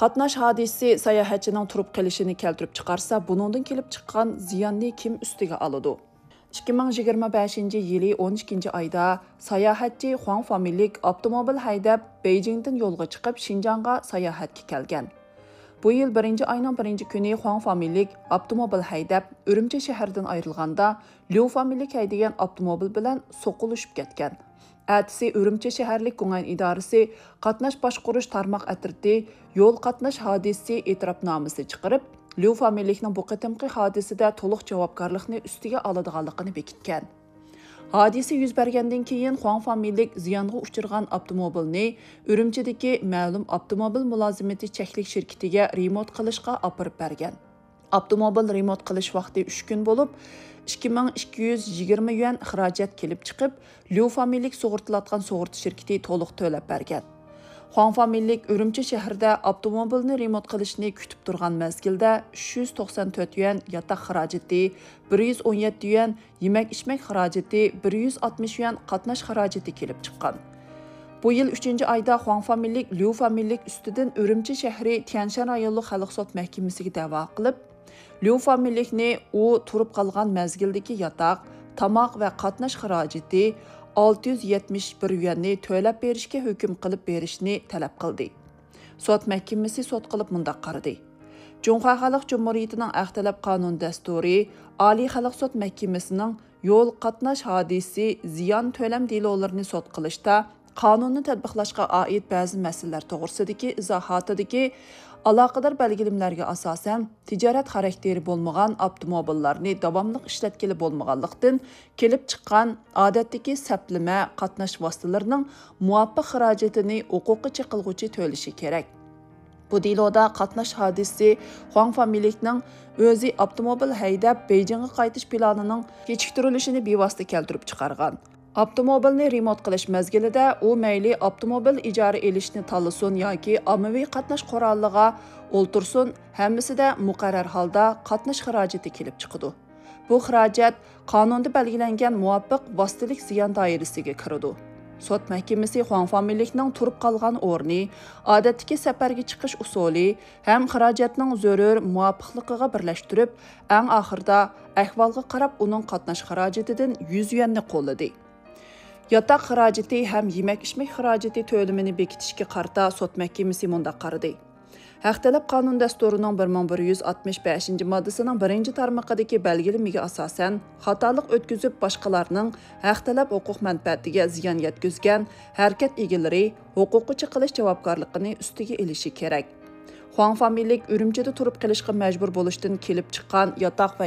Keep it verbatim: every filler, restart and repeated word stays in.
قاتناش ھادىسىسى ساياھەتچىنىڭ تۇرۇپ قېلىشىنى كەلتۈرۈپ چىقارسا، بۇنىڭدىن كېلىپ چىققان زىياننى كىم ئۈستىگە ئالىدۇ؟ ئىككى مىڭ يىگىرمە بەشىنچى يىلى ئون ئىككىنچى ئايدا ساياھەتچى خۇاڭ فامىلىلىك ئاپتوموبىل ھەيدەپ، بېيجىڭدىن يولغا چىقىپ، شىنجاڭغا ساياھەتكە كەلگەن. بۇ يىل بىرىنچى ئاينىڭ بىرىنچى كۈنى خۇاڭ فامىلىلىك ئاپتوموبىل ھەيدەپ، ئۈرۈمچى شەھىرىدىن ئايرىلغاندا، ليۇ فامىلىلىك ھەيدىگەن ئاپتوموبىل بىلەن سوقۇلۇشۇپ كەتكەن. ئەتىسى ئۈرۈمچى شەھەرلىك گۇڭئەن ئىدارىسى قاتناش باشقۇرۇش تارماق ئەترىتى يول قاتناش ھادىسىسى ئېتىراپنامىسى چىقىرىپ، ليۇ فامىلىلىكنىڭ بۇ قېتىمقى ھادىسىدە تولۇق جاۋابكارلىقنى ئۈستىگە ئالىدىغانلىقىنى بېكىتكەن. ھادىسە يۈز بەرگەندىن كېيىن، خۇاڭ فامىلىلىك زىيانغا ئۇچرىغان ئاپتوموبىلنى ئۈرۈمچىدىكى مەلۇم ئاپتوموبىل مۇلازىمىتى چەكلىك شىركىتىگە رېمونت قىلىشقا ئاپىرىپ بەرگەن. ئاپتوموبىل رېمونت قىلىش ۋاقتى ئۈچ كۈن بولۇپ، ئىككى مىڭ ئىككى يۈز يىگىرمە يۈەن خىراجەت كېلىپ چىقىپ، ليۇ فامىلىلىك سۇغۇرتىلاتقان سۇغۇرتا شىركىتى تولۇق تۆلەپ بەرگەن. خۇاڭ فامىلىلىك ئۈرۈمچى شەھىرىدە ئاپتوموبىلنى رېمونت قىلىشنى كۈتۈپ تۇرغان مەزگىلدە، ئۈچ يۈز توقسان تۆت يۈەن ياتاق خىراجىتى، بىر يۈز ئون يەتتە يۈەن يېمەك-ئىچمەك خىراجىتى، بىر يۈز ئاتمىش يۈەن قاتناش خىراجىتى كېلىپ چىققان. بۇ يىل ئۈچىنچى ئايدا خۇاڭ فامىلىلىك ليۇ فامىلىلىك ئۈستىدىن ئۈرۈمچى شەھىرى تيەنشەن رايونلۇق خەلق سوت مەھكىمىسىگە دەۋا قىلىپ، ليۇ فامىلىلىكنى ئۇ تۇرۇپ قالغان مەزگىلدىكى ياتاق، تاماق ۋە قاتناش خىراجىتى ئالتە يۈز يەتمىش بىر يۈەننى تۆلەپ بېرىشكە ھۆكۈم قىلىپ بېرىشنى تەلەپ قىلدى. سوت مەھكىمىسى سوت قىلىپ مۇنداق قارىدى: جۇڭخۇا خەلق جۇمھۇرىيىتىنىڭ ئەخلەت قانۇن دەستۇرى، ئالىي خەلق سوت مەھكىمىسىنىڭ يول قاتناش ھادىسىسى زىيان تۆلەم دېلولىرىنى سوت قىلىشتا قانۇننى تەتبىقلاشقا ئائىت بەزى مەسىلىلەر توغرىسىدىكى ئىزاھاتىدىكى ئالاقىدار بەلگىلىمىلەرگە ئاساسەن، تىجارەت خاراكتېرى بولمىغان ئاپتوموبىللارنى داۋاملىق ئىشلەتكىلى بولمىغانلىقتىن، كېلىپ چىققان ئادەتتىكى سەپلىمە قاتناش ۋاسىتىلىرىنىڭ مۇۋاپىق خىراجىتىنى ھوقۇقى چېقىلغۇچى تۆلىشى كېرەك. بۇ دېلودا قاتناش ھادىسىسى خۇاڭ فامىلىلىكنىڭ ئۆزى ئاپتوموبىل ھەيدەپ بېيجىڭغا قايتىش پىلانىنىڭ كېچىكتۈرۈلۈشىنى بىۋاسىتە كەلتۈرۈپ چىقارغان. ئاپتوموبىلنى رېمونت قىلىش مەزگىلىدە ئۇ مەيلى ئاپتوموبىل ئىجارە ئېلىشنى تاللىسۇن ياكى ئاممىۋى قاتناش قورالىغا ئولتۇرسۇن، ھەممىسىدە مۇقەررەر ھالدا قاتناش خىراجىتى كېلىپ چىقىدۇ. بۇ خىراجەت قانۇندا بەلگىلەنگەن مۇۋاپىق ۋاسىتىلىك زىيان دائىرىسىگە كىرىدۇ. سوت مەھكىمىسى خۇاڭ فامىلىلىكنىڭ تۇرۇپ قالغان ئورنى، ئادەتتىكى سەپەرگە چىقىش ئۇسۇلى ھەم خىراجەتنىڭ زۆرۈر مۇۋاپىقلىقىغا بىرلەشتۈرۈپ، ئەڭ ئاخىرىدا ئەھۋالغا قاراپ ئۇنىڭ قاتناش خىراجىتىدىن يۈز يۈەننى قوللىدى. ياتاق خىراجىتى ھەم يېمەك-ئىچمەك خىراجىتى تۆلىمىنى بېكىتىشكە قارىتا سوت مەھكىمىسى مۇنداق قارىدى: ھەق تەلەپ قانۇن دەستۇرىنىڭ بىر مىڭ بىر يۈز ئاتمىش بەشىنچى ماددىسىنىڭ بىرىنچى تارمىقىدىكى بەلگىلىمىگە ئاساسەن، خاتالىق ئۆتكۈزۈپ، باشقىلارنىڭ ھەق تەلەپ ھوقۇق مەنپەئەتىگە زىيان يەتكۈزگەن ھەرىكەت ئىگىلىرى ھوقۇققا چېقىلىش جاۋابكارلىقىنى ئۈستىگە ئېلىشى كېرەك. خۇاڭ فامىلىلىك ئۈرۈمچىدە تۇرۇپ قېلىشقا مەجبۇر بولۇشتىن كېلىپ چىققان ياتاق ۋە